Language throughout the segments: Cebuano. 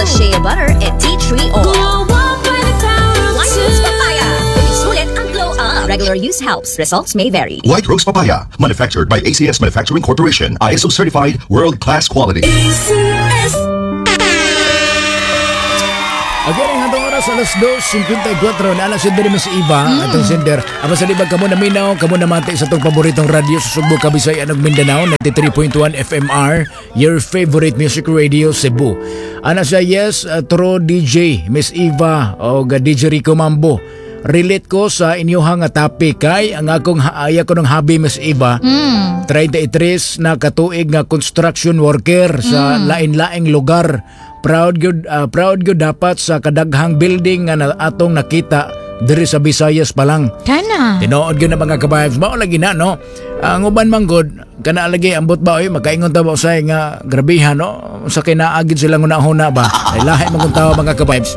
Plus shea butter and tea tree oil. Glow up by the power of White two. Rose Papaya. Sulit ang glow up. Regular use helps. Results may vary. White Rose Papaya, manufactured by ACS Manufacturing Corporation, ISO certified, world-class quality. ACS. Okay, ang atong oras alas 2:54 na alas si Miss Eva, atong sender. Apan sa libag kamo naminaw, kamo namati sa atong paboritong radyo sa Sugbo, Kabisayan ug Mindanao, 93.1 FMR, your favorite music radio Cebu. Ana siya, yes, true DJ Miss Eva o DJ Rico Mambo. Relate ko sa inyuhang nga topic kay ang akong aya ko ng hobby, Miss Eva. 33 na katuig nga construction worker sa lain-laing lugar. Proud gyud dapat sa kadaghang building nga na atong nakita diri sa Visayas pa lang. Kana. Tinuod gyud na, mga ka-vibes, mao lagi na, no. Ang uban man gud kana lagi ambot ba oy, makaingon ta ba usay nga grabehan, no, sa kinaagid silang una-una ba. Ay lahi man kung tawo, mga ka-vibes,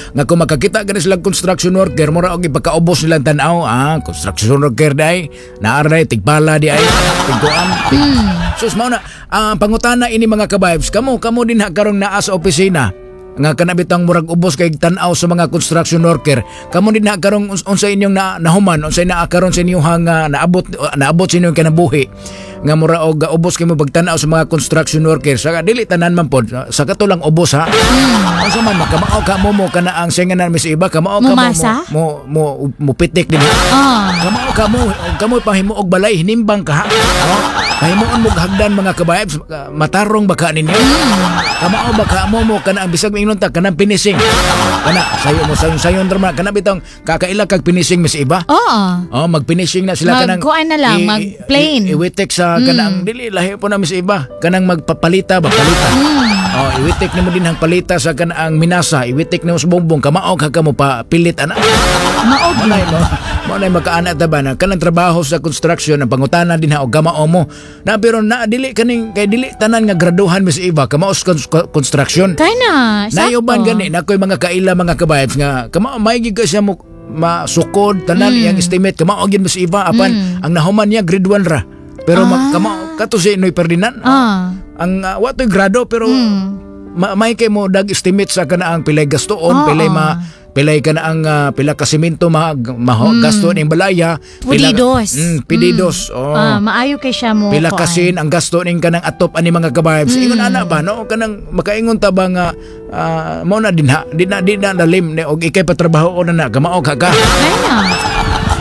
nga kung makakita gani silang construction worker, mura og ipakaubos nilang tan-aw. Ah, construction worker day, naaray tigpala di ay tigkuan tig. Sus, mao na ang pangutana ini, mga ka-vibes. Kamo kamo din ha karong naa sa opisina nga kana bitang murag ubos kay tan-aw sa mga construction worker, kamo din ha karong unsa inyong na, nahuman, unsay naa karon sa inyong nga naabot naabot sa inyong kinabuhi nga mura og ubos kay mo pagtan-aw sa mga construction worker? Sa dili tanan man pod, sa kato lang ubos ha. Unsa man makamao ka mo mo kana ang singa na Miss Iba, kamao ka mo Mumasa? mo pitik din ha. Kamao ka mo kamo pahimo og balay, hinimbang ka ha. Oh, pahimuon mo hagdan, mga ka-vibes, matarong baka ninyo? Kamao ba ka mo mo kana ang bisag ingon ta kanang finishing. Kana sayo mo sayon sayon drama kana bitong kakaila kag finishing, Miss Iba. Oo. Oh, mag-finishing na sila kanang Magkuan na lang, mag-plain. Iwitik sa kanang dili lahi po na, Miss Iba. Kanang magpapalita ba, palita. Oh, iwitik nimo din ang palita sa kanang minasa, iwitik nimo sa bongbong, kamao ka kamo pa pilit ana. Mao. Mo na makaana ta ba na kanang trabaho sa construction, ang pangutana din ha og kamao mo. Na pero na dili kaning kay dili tanan nga graduhan, Miss Iba, kamao sa construction. Kana. Sakto. Nayuban gani na ko'y mga kaila, mga ka-vibes, nga kamao may gid ka siya mo masukod tanan iyang estimate, kamao gyud, Miss Iba, apan ang nahuman niya grade 1 ra. Pero kamao kato si Noy Ferdinand. Ang wa to'y grado pero may kay mo dag estimate sa kanaang pilay gastoon, pilay ma pilay ka na ang pila ka semento ma, ma gasto ning balaya, pila Pedidos. Pedidos. Oh. Ah, maayo kay siya mo. Pila kuan. kasin ang gasto ning kanang atop ani, mga ka-vibes. Ingon ana ba, no, kanang makaingon ta ba nga mo na din ha, di na lalim ni og ikay patrabaho na na kamao ka ka. Kana.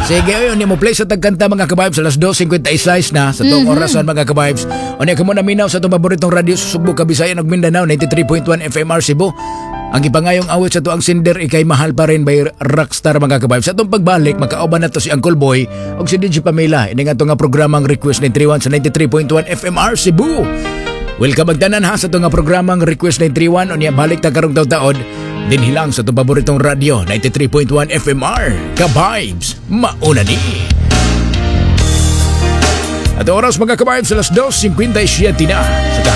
Sige, ayun, mo play sa tagkanta, mga ka-vibes, alas 2:56 na sa tuong orasan, mga ka-vibes. O niya kamo naminaw sa itong paboritong radyo sa Sugbo, Kabisayan ug Mindanao, 93.1 FMR Cebu. Ang gipangayong awit sa tuang sender, Ikay Mahal Pa Rin by Rockstar, mga ka-vibes. Sa itong pagbalik, makauban na to si Uncle Boy o si DJ Pamela. Ini nga ito nga programang Request 931 sa 93.1 FMR Cebu. Welcome magtanan ha sa itong nga programang Request 931. O niya balik ta karong taon dinhi lang sa itong paboritong radyo 93.1 FMR. Ka-vibes, mauna ni. At oras, mga ka-vibes, alas 2:57 na. Sa